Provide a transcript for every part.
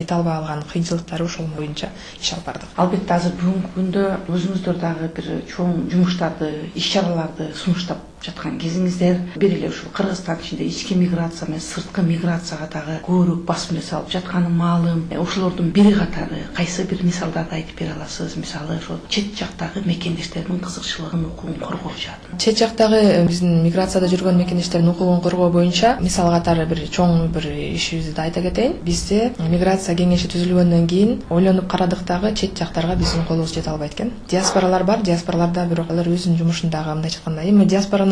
жете албай калган кыйынчылыктары ошол боюнча иш алып бардык. Албетте азыр бүгүнкү күндө өзүңүздөр дагы бир чоң жумуштарды, иш-чараларды сунуштап жаткан кезиңиздер. Бир эле ушул Кыргызстан ичинде ички миграция менен сырткы миграцияга дагы көбүрөөк басым жасалып жатканы маалым. Ошолордун бири катары кайсы бир мисалдарды айтып бере аласыз? Мисалы ошол чет жактагы мекендештердин кызыкчылыгын, укугун коргоо жаатынан. Чет жактагы биздин миграцияда жүргөн мекендештердин укугун коргоо боюнча мисал катары бир чоң бир ишибизди да айта кетейин. Бизде миграция кеңеши түзүлгөндөн кийин ойлонуп карадык дагы чет жактарга биздин колубуз жете албайт экен. Диаспоралар бар, диаспораларда бирок алар өзүнүн жумушундагы мындайча айтканда эми диаспоранын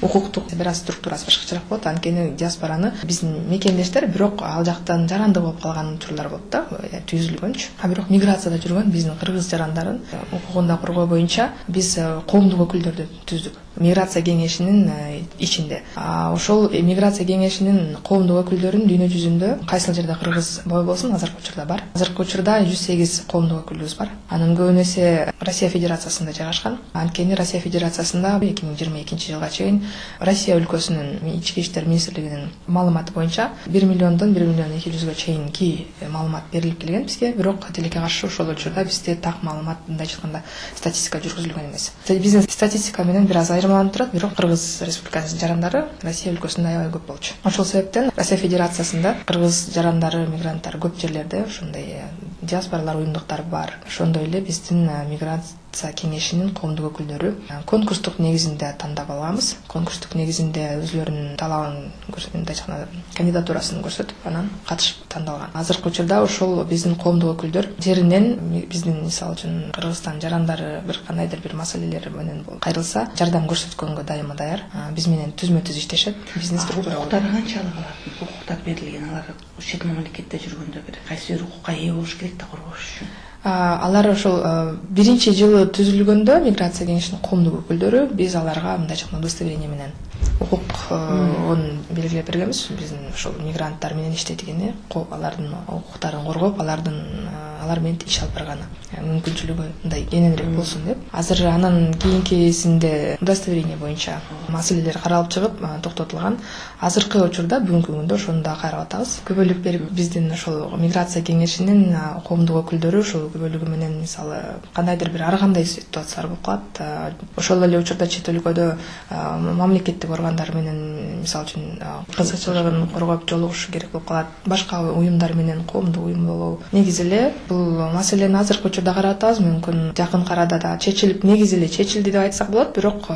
укуктук бир аз структурасы башкачараак болот. Анткени диаспораны биздин мекендештер бирок ал жактан жарандык болуп калган учурлар болот да, түзүлгөнчү. А бирок миграцияда жүргөн биздин кыргыз жарандарын укугун коргоо боюнча биз коомдук өкүлдөрдү түздүк. Миграция кеңешинин ичинде. Ошол миграция кеңешинин коомдук өкүлдөрүн дүйнө жүзүндө кайсыл жерде кыргыз бой болсун азыркы учурда бар. Азыркы учурда 108 коомдук өкүлүбүз бар. Анын көбүн эсе Россия Федерациясында жайгашкан. Анткени Россия Федерациясында 2022 жылга чейин Россия өлкөсүнүн ички иштер министрлигинин маалыматы боюнча 1 миллиондон 1 миллион 200га чейинки маалымат берилип келген бизге. Бирок тилекке каршы ошол учурда бизде так маалымат мындайча айтканда статистика жүргүзүлгөн эмес. Биздин статистика менен бир аз айырмаланып турат, бирок Кыргыз Республикасынын жарандары Россия өлкөсүндө аябай көп болчу. Ошол себептен Россия Федерациясында кыргыз жарандары, мигранттар көп жерлерде ошондой диаспоралар уюмдуктары бар. Ошондой эле биздин миграция кеңешинин коомдук өкүлдөрү конкурстук негизинде тандап алганбыз. Конкурстук негизинде өзлөрүнүн талабын мындайча айтканда кандидатурасын көрсөтүп, анан катышып тандалган. Азыркы учурда ошол биздин коомдук өкүлдөр жеринен биздин мисалы үчүн Кыргызстан жарандары бир кандайдыр бир маселелер менен кайрылса, жардам көрсөткөнгө дайыма даяр. Биз менен түзмө-түз иштешет. Биздин структура укуктары канчалык алардын? Укуктар берилген, алар чет мамлекетте жүргөндө бир кайсы бир укукка ээ болуш керек да коргош үчүн. Алар ошол биринчи жылы түзүлгөндө миграция кеңешинин коомдук өкүлдөрү биз аларга мындайча айтканда удостоверение менен укугун белгилеп бергенбиз. Биздин ошол мигранттар менен иштетигини, алардын укуктарын коргоп, алар менен иш алып барганы мүмкүнчүлүгү мындай кененирээк болсун деп. Азыр анан кийинкисинде удостоверение боюнча маселелер каралып чыгып токтотулган. Азыркы учурда бүгүнкү күндө ошону да карап атабыз. Көбөлүк берип биздин ошол миграция кеңешинин коомдук өкүлдөрү ошол көбөлүгү менен мисалы кандайдыр бир ар кандай ситуациялар болуп калат. Ошол эле учурда чет өлкөдө мамлекеттик органдар менен мисалы үчүн кызыкчылыгын коргоп жолугуш керек болуп калат. Башка уюмдар менен коомдук уюм болобу. Негизи эле бул маселени азыркы учурда карап атабыз. Мүмкүн жакын арада да чечилип, негизи эле чечилди деп айтсак болот, бирок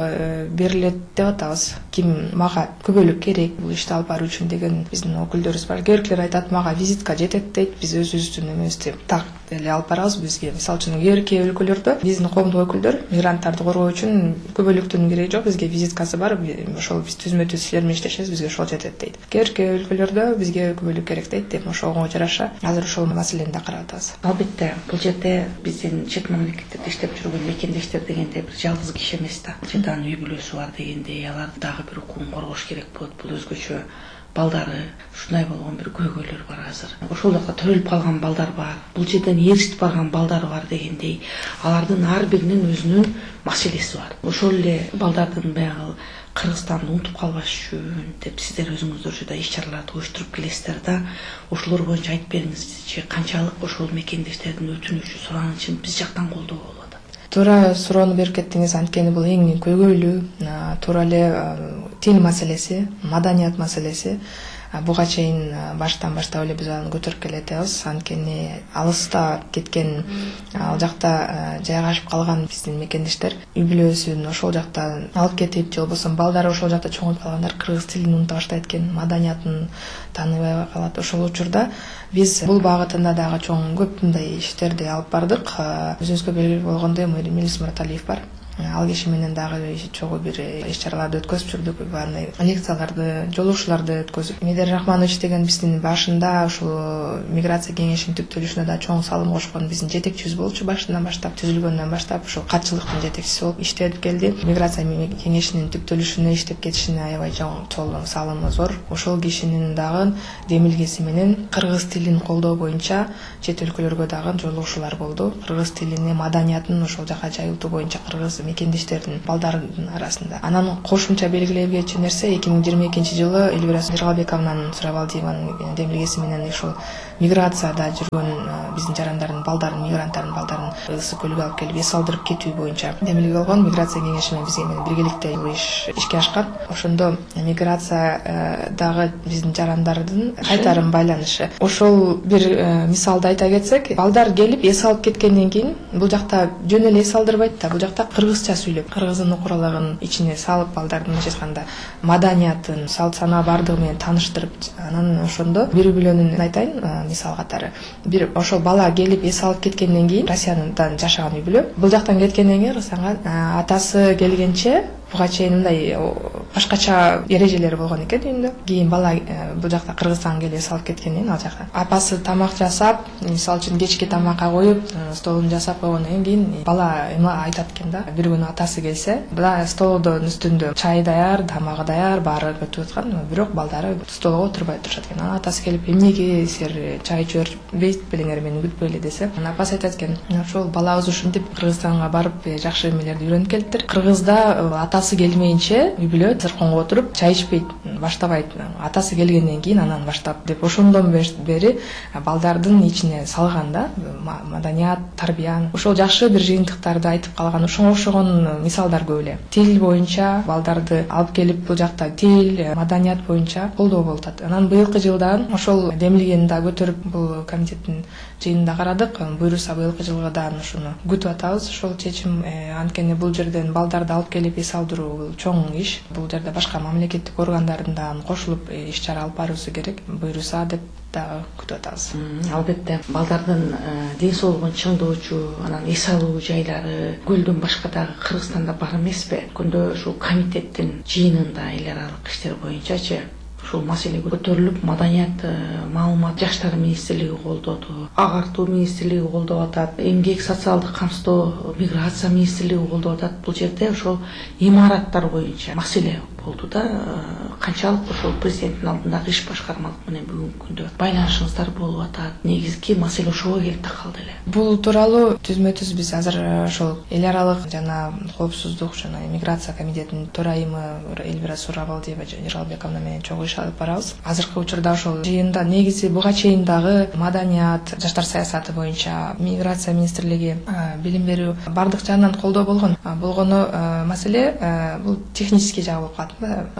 берилет деп атабыз. Ким мага көбөлүк керек бул ишти алып баруу үчүн деген биздин өкүлдөрүбүз бар. Кээ бирлер айтат, мага визитка жетет дейт. Биз өзүбүздүн эмебизди так эле алып барабыз. Бизге мисалы үчүн кээ өлкөлөрдө биздин коомдук өкүлдөр мигранттарды коргоо үчүн көбөлүктүн кереги жок, бизге визиткасы бар, ошол биз түзмө-түз силер менен иштешебиз, бизге ошол жетет дейт. Кээ өлкөлөрдө бизге көбөлүк керек дейт деп ошого жараша азыр ошол маселени да карап атабыз. Албетте бул жерде биздин чет мамлекеттерде иштеп жүргөн мекендештер дегенде бир жалгыз киши эмес да. Жадан үй бүлөсү бар дегендей, алар дагы бир укугун коргош керек болот. Бул өзгөчө балдары, ушундай болгон бир көйгөйлөр бар азыр. Ошол жакта төрөлүп калган балдар бар. Бул жерден ээрчитип барган балдар бар дегендей, алардын ар биринин өзүнүн маселеси бар. Ошол эле балдардын баягы Кыргызстанды унутуп калбаш үчүн деп сиздер өзүңүздөр жада иш-чараларды уюштуруп келесиздер да. Ошолор боюнча айтып бериңизчи, канчалык ошол мекендештердин өтүнүчү, суранычын биз жактан колдоо болуп атат? Туура суроону берип кеттиңиз. Анткени бул эң көйгөйлүү, туура эле тил маселеси, маданият маселеси. Буга чейин баштан баштап эле биз аны көтөрүп келатабыз. Анткени алыста кеткен, ал жакта жайгашып калган биздин мекендештер үй бүлөсүн ошол жакта алып кетип, же болбосо балдары ошол жакта чоңоюп калгандар кыргыз тилин унута баштайт экен, маданиятын тааныбай калат. Ошол учурда биз бул багытында дагы чоң көп мындай иштерди алып бардык. Өзүңүзгө белгилүү болгондой Мелис Мураталиев бар. Ал киши менен дагы чогуу бир иш-чараларды өткөзүп жүрдүк, андай лекцияларды, жолугушууларды өткөзүп. Медер Рахманович деген биздин башында ушул миграция кеңешинин түптөлүшүнө да чоң салым кошкон биздин жетекчибиз болчу. Башынан баштап, түзүлгөндөн баштап ушул катчылыктын жетекчиси болуп иштеп келди. Миграция кеңешинин түптөлүшүнө иштеп кетишине аябай чоң салымы зор. Ошол кишинин дагы демилгеси менен кыргыз тилин колдоо боюнча чет өлкөлөргө дагы жолугушуулар болду. Кыргыз тилини, маданиятын ошол жака жайылтуу боюнча кыргыз мекендештердин балдардын арасында. Анан кошумча белгилей кетчү нерсе 2022-жылы Эльвира Жыргалбековнанын Сурабалдиеванын демилгеси менен ушул миграцияда жүргөн биздин жарандардын балдарын, мигранттардын балдарын Ысык көлгө алып келип эс алдырып кетүү боюнча демилге болгон миграция кеңеши менен бизге биргеликте ишке ашкан. Ошондо миграциядагы биздин жарандардын кайтарым байланышы. Ошол бир мисалды айта кетсек, балдар келип эс алып кеткенден кийин бул жакта жөн эле эс алдырбайт да, бул жакта кыргызча сүйлөп, кыргыздын окуралагын ичине салып, балдардын мындайча айтканда маданиятын, салт санаа бардыгы менен тааныштырып, анан ошондо бири-бирөөнүн айтайын мисал катары. Бир ошол бала келип эс алып кеткенден кийин Россиядан жашаган үй-бүлө, бул жактан кеткенден кийин Кыргызстанга атасы келгенче буга чейин мындай башкача эрежелери болгон экен үйүндө. Кийин бала бул жакта Кыргызстанга келип эс алып кеткенден кийин ал жакта апасы тамак жасап, мисалы үчүн кечки тамакка коюп, столун жасап койгондон кийин бала айтат экен да, бир күнү атасы келсе, бала столдун үстүндө чай даяр, тамагы даяр, баары өтүп аткан, бирок балдары столго отурбай турушат экен. Анан атасы келип, эмнеге силер чай жибербейт белеңер, мени күтпөй эле десе, анан апасы айтат экен, ошол балабыз ушинтип Кыргызстанга барып жакшы эмелерди үйрөнүп келиптир. Кыргызда атасы келмейинче үй-бүлө зырконго отуруп чай ичпейт, баштабайт. Атасы келгенден кийин анан баштап деп ошондон бери балдардын ичине салган да, маданият, тарбияны. Ошол жакшы бир жыйынтыктарды айтып калган. Ошого окшогон мисалдар көп эле. Тил боюнча балдарды алып келип бул жакта тил, маданият боюнча колдоо болуп атат. Анан быйылкы жылдан ошол демилгени да көтөрүп бул комитеттин жыйынында карадык. Буюрса быйылкы жылдан ушуну күтүп атабыз. Ошол чечим, анткени бул жерден балдарды алып келип эс алдыруу бул чоң иш. Бул жерде башка мамлекеттик органдардын да кошулуп иш чара алып баруусу керек. Буюрса деп дагы күтүп атабыз. Албетте балдардын ден соолугун чыңдоочу, анан эс алуу жайлары көлдөн башка дагы Кыргызстанда бар эмеспи? Күндө ушул комитеттин жыйынында эл аралык иштер боюнчачы ушул маселе көтөрүлүп, маданият, маалымат, жаштар министрлиги колдоду, агартуу министрлиги колдоп атат, эмгек, социалдык камсыздоо, миграция министрлиги колдоп атат. Бул жерде ошол имараттар боюнча маселе болду да, канчалык ошол президенттин алдындагы иш башкармалык менен бүгүнкү күндө байланышыңыздар болуп атат? Негизги маселе ошого келип такалды эле. Бул тууралуу түзмө-түз биз азыр ошол эл аралык жана коопсуздук жана миграция комитетинин төрайымы Эльвира Сурабалдиева Жыргалбековна менен чогуу иш алып барабыз. Азыркы учурда ошол жыйында негизи буга чейин дагы маданият, жаштар саясаты боюнча миграция министрлиги, билим берүү бардык жагынан колдоо болгону маселе бул технический жагы болуп калат.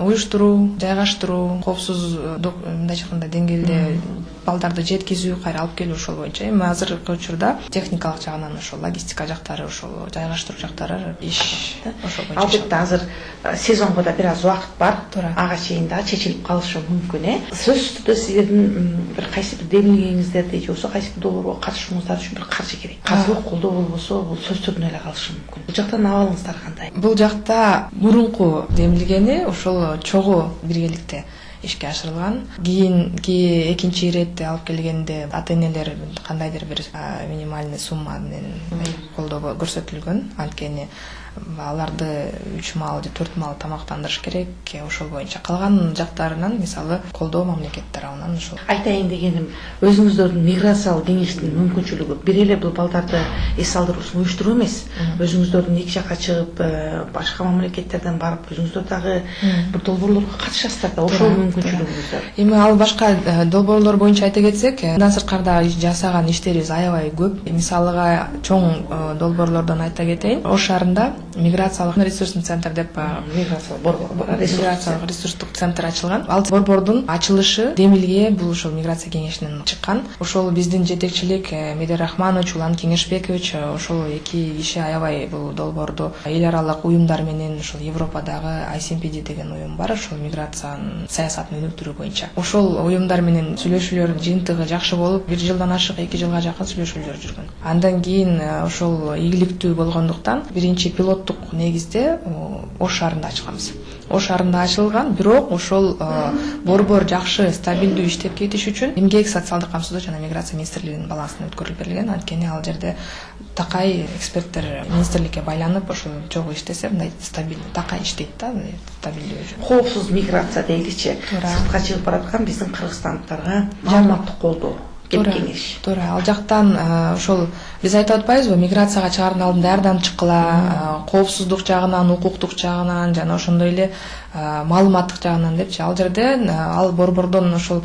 Уюштуруу, жайгаштыруу, коопсуздук мындайча айтканда деңгээлде балдарды жеткизүү, кайра алып келүү ошол боюнча. Эми азыркы учурда техникалык жагынан ошол логистика жактары, ошол жайгаштыруу жактары иш ошол боюнча. Албетте азыр сезонго да бир аз убакыт бар. Ага чейин да чечилип калышы мүмкүн. Сөзсүз түрдө сиздердин бир кайсы бир демилгеңиздерди же болбосо кайсы бир долбоорго катышууңуздар үчүн бир каржы керек. Каржылык колдоо болбосо бул сөз түрүнө эле калышы мүмкүн. Бул жактан абалыңыздар кандай? Бул жакта мурунку демилгени ошол чогуу биргеликте ишке ашырылган. Кийинки экинчи иретти алып келгенде ата-энелер кандайдыр бир минимальный сумма менен колдоо көрсөтүлгөн. Анткени аларды 3 маал же 4 маал тамактандырыш керек. Ошол боюнча калган жактарынан мисалы колдоо мамлекет тарабынан ошол. Айтайын дегеним, өзүңүздөрдүн миграциялык кеңештин мүмкүнчүлүгү бир эле бул балдарды эс алдыруусун уюштуруу эмес. Өзүңүздөрдүн эки жакка чыгып, башка мамлекеттерден барып, өзүңүздөр дагы бир долбоорлорго катышасыздар да, ошол мүмкүнчүлүгүңүздөр. Эми ал башка долбоорлор боюнча айта кетсек, мындан сырткарда жасаган иштерибиз аябай көп. Мисалыга чоң долбоорлордон айта кетейин. Ош шаарында миграциялык ресурсный центр деп миграциялык ресурстук центр ачылган. Ал борбордун ачылышы демилге бул ошол миграция кеңешинен чыккан. Ошол биздин жетекчилик Медер Рахманович, Улан Кеңешбекович ошол эки киши аябай бул долбоорду эл аралык уюмдар менен ошол Европадагы ICMPD деген уюм бар, ошол миграциянын саясатын өнүктүрүү боюнча. Ошол уюмдар менен сүйлөшүүлөр жыйынтыгы жакшы болуп, 1 жылдан ашык 2 жылга жакын сүйлөшүүлөр жүргөн. Андан кийин ошол ийгиликтүү болгондуктан биринчи пилоттук негизде Ош шаарында ачканбыз. Ош шаарында ачылган, бирок ошол борбор жакшы, стабилдүү иштеп кетиш үчүн эмгек, социалдык камсыздоо жана миграция министрлигинин балансына өткөрүлүп берилген. Анткени ал жерде такай эксперттер министрликке байланып ошол чогуу иштесе, мындай стабилдүү такай иштейт да, стабилдүү. Коопсуз миграция дейличи, сыртка чыгып бараткан биздин кыргызстандыктарга маалыматтык колдоо келип кеңеш. Туура. Ал жактан ошол биз айтып атпайбызбы, миграцияга чыгаардын алдында даярданып чыккыла, коопсуздук жагынан, укуктук жагынан жана ошондой эле маалыматтык жагынан депчи. Ал жерде ал борбордон ошол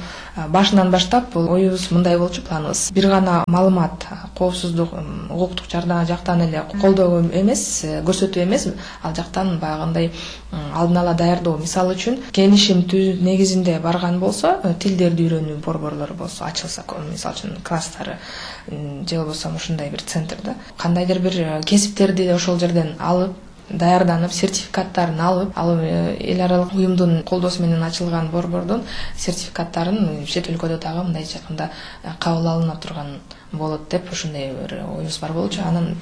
башынан баштап бул оюбуз мындай болчу, планыбыз. Бир гана маалымат, коопсуздук, укуктук жактан эле колдоо эмес, көрсөтүү эмес, ал жактан баягындай алдын ала даярдоо. Мисалы үчүн келишим негизинде барган болсо, тилдерди үйрөнүү борборлору болсо ачылса, мисалы үчүн класстары же болбосо ушундай бир центрде кандайдыр бир кесиптерди ошол жерден алып, даярданып, сертификаттарын алып, ал эл аралык уюмдун колдоосу менен ачылган борбордун сертификаттарын чет өлкөдө дагы мындай жакында кабыл алына турган болот деп ушундай бир оюбуз бар болчу. Анан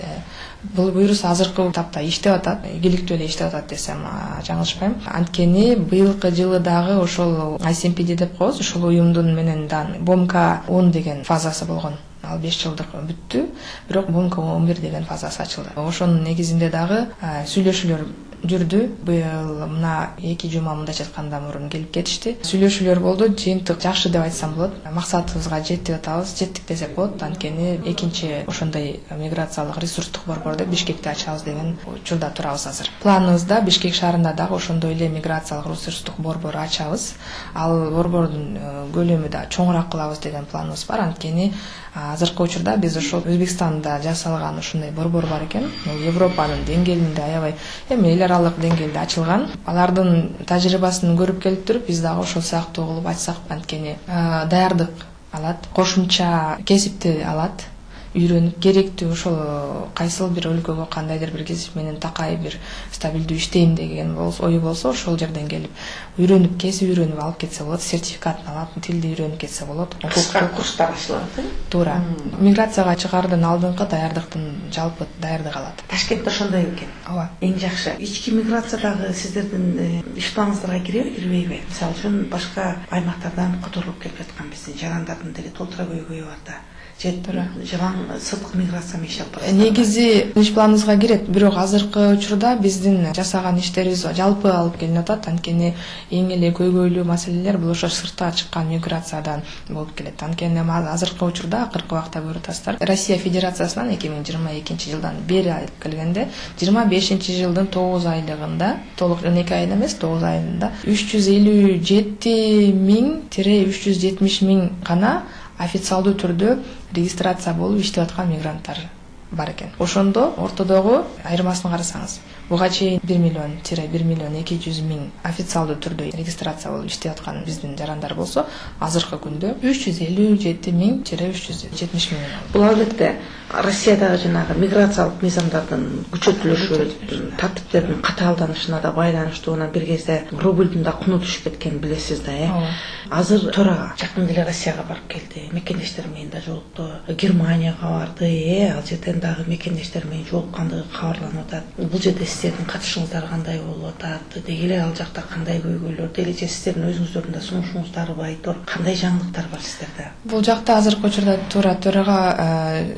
бул буюрус азыркы тапта иштеп атат, ийгиликтүү эле иштеп атат десем жаңылышпайм. Анткени быйылкы жылы дагы ошол ICMPD деп коебуз, ошол уюмдун менен БОМК 10 деген фазасы болгон. Ал 5 жылдык бүттү, бирок БОМК 11 деген фазасы ачылды. Ошонун негизинде дагы сүйлөшүүлөр жүрдү. Быйыл мына 2 жума мындайча айтканда мурун келип кетишти. Сүйлөшүүлөр болду. Жыйынтык жакшы деп айтсам болот. Максатыбызга жеттип атабыз, жеттик десек болот. Анткени экинчи ошондой миграциялык ресурстук борборду Бишкекте ачабыз деген учурда турабыз азыр. Планыбызда Бишкек шаарында дагы ошондой эле миграциялык ресурстук борбор ачабыз. Ал борбордун көлөмү да чоңураак кылабыз деген планыбыз бар. Анткени азыркы учурда биз ошол Өзбекстанда жасалган ушундай борбор бар экен. Бул Европанын деңгээлинде аябай эл аралык деңгээлде ачылган. Алардын тажрыйбасын көрүп келип туруп, биз дагы ошол сыяктуу кылып ачсак, анткени даярдык алат, кошумча кесипти алат, үйрөнүп керектүү ошол кайсыл бир өлкөгө кандайдыр бир кесип менен такай бир стабилдүү иштейм деген ою болсо, ошол жерден келип үйрөнүп, кесип үйрөнүп алып кетсе болот, сертификатын алат, тилди үйрөнүп кетсе болот. Кыска курстар ачылат. Туура. Миграцияга чыгаардын алдыңкы даярдыктын жалпы даярдыгы алат. Ташкентте ошондой экен. Ооба. Эң жакшы. Ички миграциядагы сиздердин иш планыңыздарга кирбейби? Мисалы үчүн башка аймактардан которулуп келип жаткан биздин жарандардын деле толтура көйгөйү бар да. Жалаң сырткы миграция менен иштеп атат. Негизи иш планыбызга кирет, бирок азыркы учурда биздин жасаган иштерибиз жалпы алып келинип атат. Анткени эң эле көйгөйлүү маселелер бул ошо сыртка чыккан миграциядан болуп келет. Анткени азыркы учурда акыркы убакта көрүп атасыздар, Россия Федерациясынан 2022 жылдан бери алып келгенде 25 жылдын 9 айлыгында, толук 12 ай эмес, 9 айында 357 миң-370 миң гана официалдуу түрдө регистрация болуп иштеп аткан мигранттар бар экен. Ошондо ортодогу айырмасын карасаңыз, буга чейин 1 миллион-1 миллион 200 миң официалдуу түрдө регистрация болуп иштеп аткан биздин жарандар болсо, азыркы күндө 357 миң-370 миң. Бул албетте Россиядагы жанагы миграциялык мыйзамдардын күчөтүлүшү, тартиптердин катаалданышына да байланыштуу. Анан бир кезде рублдун да куну түшүп кеткенин билесиз да, Азыр төрага жакын эле Россияга барып келди, мекендештер менен да жолукту, Германияга барды, ал жерден дагы мекендештер менен жолуккандыгы кабарланып атат. Бул жерде сиздердин катышыңыздар кандай болуп атат? Деги эле ал жакта кандай көйгөйлөр, делече сиздердин өзүңүздөрдүн да сунушуңуздар бар, кандай жаңылыктар бар сиздерде? Бул жакта азыркы учурда төрага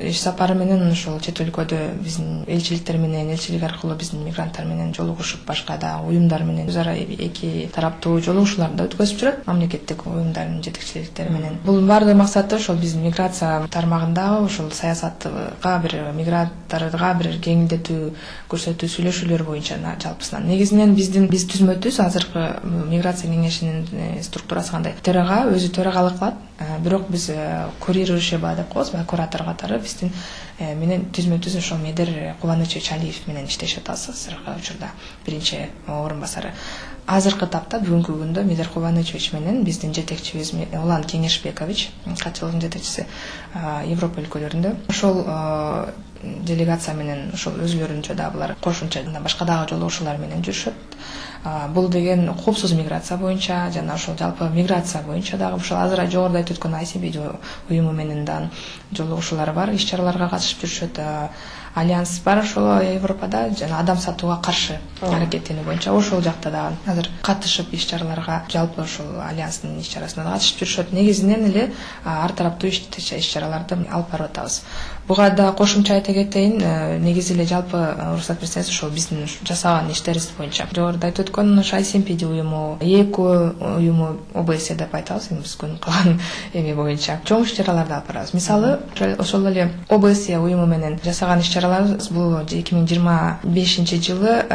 иш сапары менен ошол чет өлкөдө биздин элчиликтер менен, элчилик аркылуу биздин мигранттар менен жолугушуп, башка да уюмдар менен өз ара эки тараптуу жолугушууларды өткөзүп жүрөт мамлекеттик уюмдардын жетекчиликтери менен. Бул баардык максаты ошол биздин миграция тармагындагы ошол саясатка бир мигранттарга бир жеңилдетүү көрсөтүү сүйлөшүүлөр боюнча жалпысынан. Негизинен биз түзмөтүбүз азыркы миграция кеңешинин структурасы кандай? Төрага өзү төрагалык кылат, бирок биз курирующий деп коебуз, куратор катары биздин менен түзмө-түз ошол Медер Кубанычевич Алиев менен иштешип атабыз азыркы учурда, биринчи орун басары. Азыркы тапта бүгүнкү күндө Медер Кубанычевич менен биздин жетекчибиз Улан Кеңешбекович, катчылыгынын жетекчиси Европа өлкөлөрүндө, ошол делегация менен ошол өзүлөрүнчө да булар кошумча башка дагы жолугушуулар менен жүрүшөт. Бул деген коопсуз миграция боюнча жана ошол жалпы миграция боюнча дагы ошол азыр жогоруда айтып өткөн ICMPD уюму менен да жолугушуулар бар, иш-чараларга катышып жүрүшөт. Альянс бар ошол Европада жана адам сатууга каршы аракеттенүү боюнча ошол жакта да азыр катышып иш-чараларга, жалпы ошол альянстын иш-чарасына да катышып жүрүшөт. Негизинен эле ар тараптуу иш-чараларды алып барып атабыз. Буга да кошумча айтып айта кетейин, негизи эле жалпы уруксат берсеңиз ошол биздин жасаган иштерибиз боюнча жогоруда айтып өткөн ICMPD уюму, ЭКО уюму, ОБСЕ деп айтабыз эми биздин кылган эми боюнча чоң иш-чараларды алып барабыз. Мисалы, ошол эле ОБСЕ уюму менен жасаган иш-чараларыбыз бул 2025-жылы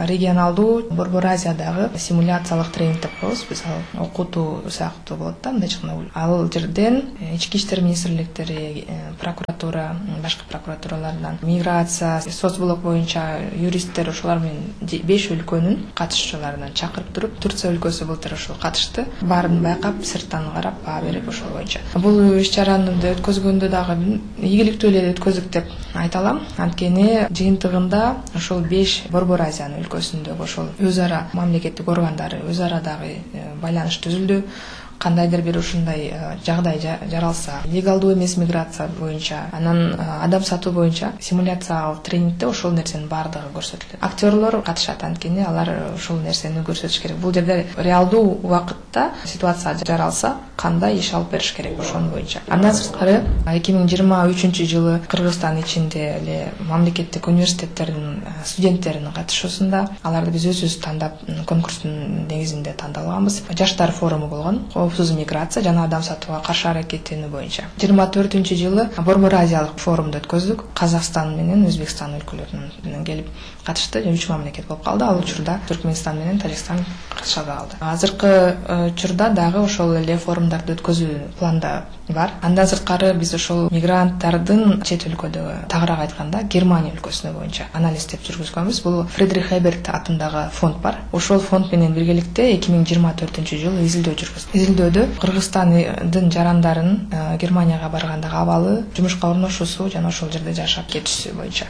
регионалдуу Борбор Азиядагы симуляциялык тренинг деп коебуз. Биз окутуу сыяктуу болот да, мындайча айтканда. Ал жерден ички иштер министрликтери, прокуратура, башка прокуратуралардан, миграция, соцблок боюнча юристтер ошолар менен 5 өлкөнүн катышуучуларынан чакырып туруп, Турция өлкөсү былтыр ошол катышты. Баарын байкап, сырттан карап, баа берип ошол боюнча. Бул иш-чараны өткөзгөндө дагы ийгиликтүү эле өткөздүк деп айта алам. Анткени жыйынтыгында ошол 5 Борбор Азиянын өлкөсүндөгү ошол өз ара мамлекеттик органдары өз ара дагы байланыш түзүлдү. Кандайдыр бир ушундай жагдай жаралса, легалдуу эмес миграция боюнча, анан адам сатуу боюнча симуляциялык тренингде ошол нерсенин баардыгы көрсөтүлөт. Актерлор катышат, анткени алар ошол нерсени көрсөтүш керек. Бул жерде реалдуу убакытта ситуация жаралса, кандай иш алып бериш керек ошон боюнча. Андан сырткары 2023-жылы Кыргызстан ичинде эле мамлекеттик университеттердин студенттеринин катышуусунда аларды биз өзүбүз тандап, конкурстун негизинде тандалганбыз. Жаштар форуму болгон. Коопсуз миграция жана адам сатууга каршы аракеттенүү боюнча. 24-жылы Борбор Азиялык форумду өткөздүк. Казакстан менен Өзбекстан өлкөлөрүнөн келип катышты. 3 мамлекет болуп калды. Ал учурда Түркмөнстан менен Тажикстан катышабай калды. Азыркы учурда дагы ошол эле форумдарды өткөзүү планда бар. Андан сырткары биз ошол мигранттардын чет өлкөдөгү, тагыраак айтканда Германия өлкөсүнө боюнча анализ деп жүргүзгөнбүз. Бул Фридрих Эберт атындагы фонд бар. Ошол фонд менен биргеликте 2024-жылы изилдөө жүргүздүк. Изилдөөдө Кыргызстандын жарандарын Германияга баргандагы абалы, жумушка орношуусу жана ошол жерде жашап кетиши боюнча.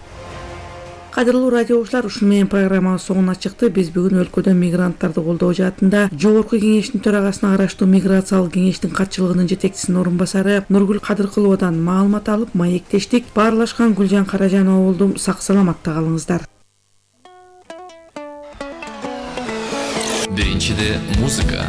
Кадырлуу радио угуучулар, ушуну менен программабыз соңуна чыкты. Биз бүгүн өлкөдө мигранттарды колдоо жаатында Жогорку кеңештин төрагасына караштуу миграциялык кеңештин катчылыгынын жетекчисинин орун басары Нургүл Кадыркуловадан маалымат алып, маектештик. Баарлашкан Гүлжан Каражанова болдум. Сак саламатта калыңыздар. Биринчиде музыка.